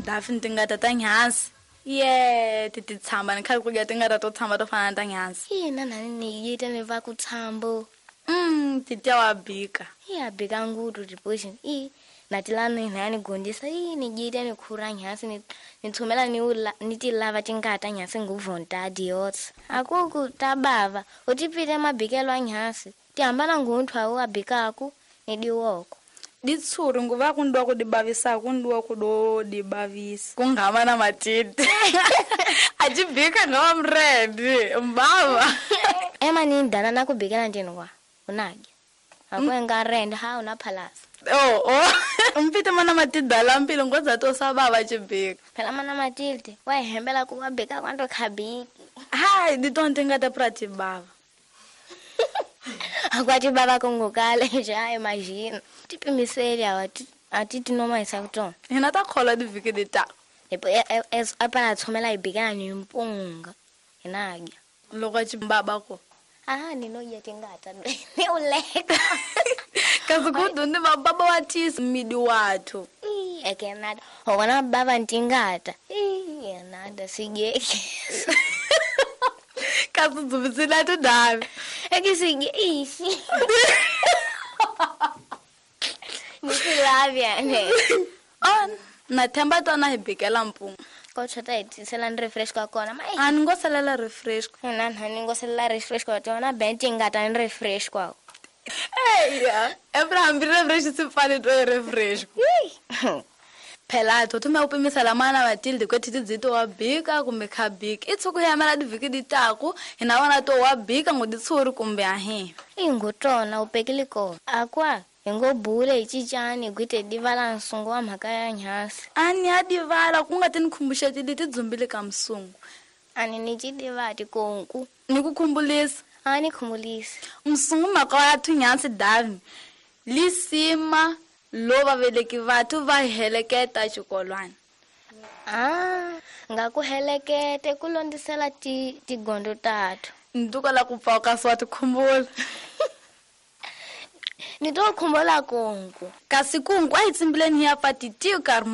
Dafi tingata ta nyhansi. Ye ti ti tshamba ni khale ku dya tingata to tshamba to fana na ta nyhansi. Ina nani ni yita ni va ku tshambo. Titya wa bika. Iya bika ngutu tipoxi. I na tilani na ni gondisa i ni jita ni khura nyhansi ni tshumela ni ula ni ti lava tingata nyhansi nguvonta adios. Akuku tabava utipite mabikelo a nyhansi. Ti hambana ngunthu awu abikaku ni diwoko. Ditshuri nguva ku ndiwa ku dibavisa ku ndiwa ku do dibavisa. Ku ngama na matiti. A ti bika ngava mredi mbava. Ema ni ndana na ku bikela ndini kwa. Unadya. Akwenga rende ha una phalasa. Oh oh. Mpite mana matida la mpilo ngoza to sabava chibika. Phela mana matilde wa hembela ku wa bika kwanto khabiki. Hai di tonte ngata prati bava. Akwati baba kongokale nje hayi imagine. Tipimiseli awati atiti noma isakutona. Hina ta khola diviki dita. Epo apana thomela ibikana ni mpunga. Inadya. Loko chimbaba ko. Ah ninoja tingata ni uleka. Kasi kudundi baba wa tisi midi wathu. Ekenada. Hokona baba ntingata. Enada sigeke. Kasi dzubisela tudavi. Ekisige ishi. Nisilavya ne. On na themba tona hi bikela mpunga. Ko chota hi tisela ni refresh ka kona mai. A ni ngo salela refresh. Na ni ngo salela refresh ka tona ben tingata ni refresh kwa. Eya, Abraham bi refresh si fane to refresh. Phela to thume u pimisela mana Matilde ku ti dzito wa bika kumbe kha bika. I tshuku ya mela diviki ditaku hina vona to wa bika ngo ditshuri kumbe ahe. Ingotona u pekile ko. Akwa hingo bule icicani gwite divala nsungu wa mhaka ya nyhasi. Ani ya divala ku nga ti ni khumbuxeti leti dzumbile ka msungu. Ani ni ci divati konku. Ni ku khumbulisa. Ani khumbulisa. Msungu mhaka ya thunyasi davi. Lisima lo va veleki vathu va heleketa xikolwana. Ah, nga ku helekete ku londzisela tigondo tathu. Nduka la ku pfauka swa tikhumbula. Ni to khumbula konku. Kasi kungu a hi tsimbileni hi ya pfa titiyo karhi.